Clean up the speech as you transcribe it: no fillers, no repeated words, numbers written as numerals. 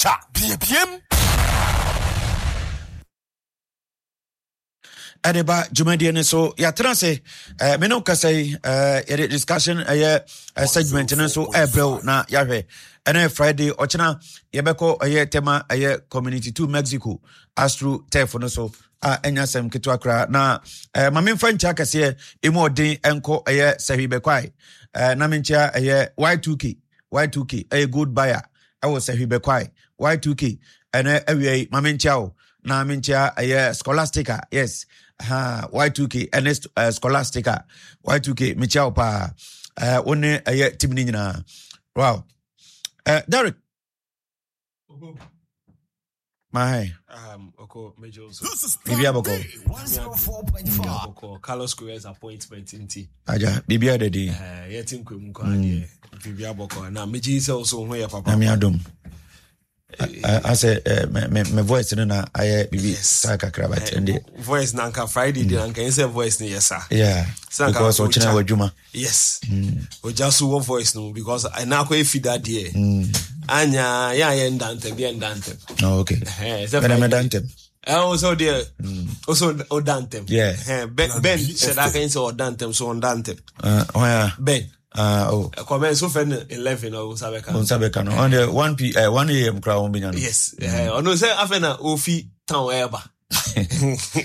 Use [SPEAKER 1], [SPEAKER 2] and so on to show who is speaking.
[SPEAKER 1] Culture, Biebiem.
[SPEAKER 2] Ɛde ba dwumadie no so, yɛatena ase me ne wo kasa yi, yɛde discussion ɛyɛ segment no nso ɛbrɛw na yɛahwɛ. Ɛnɛ Friday, ɔkyena yɛbɛkɔ ɛyɛ Tema ɛyɛ Community 2 Mexico Astro Turf no so a ɛnya asɛm ketewa koraa. Na ma memfa nkyia kɛseɛ ɛmu ɔden ɛnkɔ ɛyɛ Sɛhwi Bɛkwae, na menkyia ɛyɛ Y2K. Y2K ɛyɛ gold buyer ɛwɔ Sɛhwi Bɛkwae. Y2K, ɛnɛ awia yi ma menkyia wo na menkyia ɛyɛ Scholastica. Yes, ha Y2K ɛne Scholastica. Y2K, mekyia wo paa, wo ne ɛyɛ team no nyinaa. Wow, Derek. Mahe.
[SPEAKER 3] Oko Major.
[SPEAKER 2] Bibi abɔkɔ.
[SPEAKER 3] Abɔkɔ Carlos Queiroz appointment nti.
[SPEAKER 2] Aja, bibi adadi.
[SPEAKER 3] Eh, yɛ ti nkwa mu kɔ adeɛ. Bibi abɔkɔ na megye sɛ ɔso ho yɛ papa.
[SPEAKER 2] Na mi adom. Asɛ me me voice no na ayɛ bibi saa kakra, but ɛnde.
[SPEAKER 3] Voice na nka Friday de na nka yɛn sɛ voice no yɛ saa.
[SPEAKER 2] Yeah. Because ɔkyena wɔ adwuma.
[SPEAKER 3] Yes. Ogya so wɔ voice no because ɛna akɔ efi da deɛ. Anya yɛn a yɛn da ntɛm yɛn da ntɛm.
[SPEAKER 2] Oh, okay. Ɛna mɛ da ntɛm.
[SPEAKER 3] Ɛ o sɛ o deɛ o sɛ o da ntɛm.
[SPEAKER 2] Yeah.
[SPEAKER 3] Ben Ben hyɛ da kan sɛ ɔda ntɛm so ɔnda ntɛm.
[SPEAKER 2] Ɔn ya.
[SPEAKER 3] Ben.
[SPEAKER 2] Ah, oh.
[SPEAKER 3] Kɔmɛ nso fɛ no 11 ɔwɔ nsa bɛka.
[SPEAKER 2] Nsa bɛka no. Ɔn deɛ 1 p 1 a.m. kura wɔn bɛ nya no.
[SPEAKER 3] Yes. Ɔno sɛ afɛ na ofi town ɛɛba.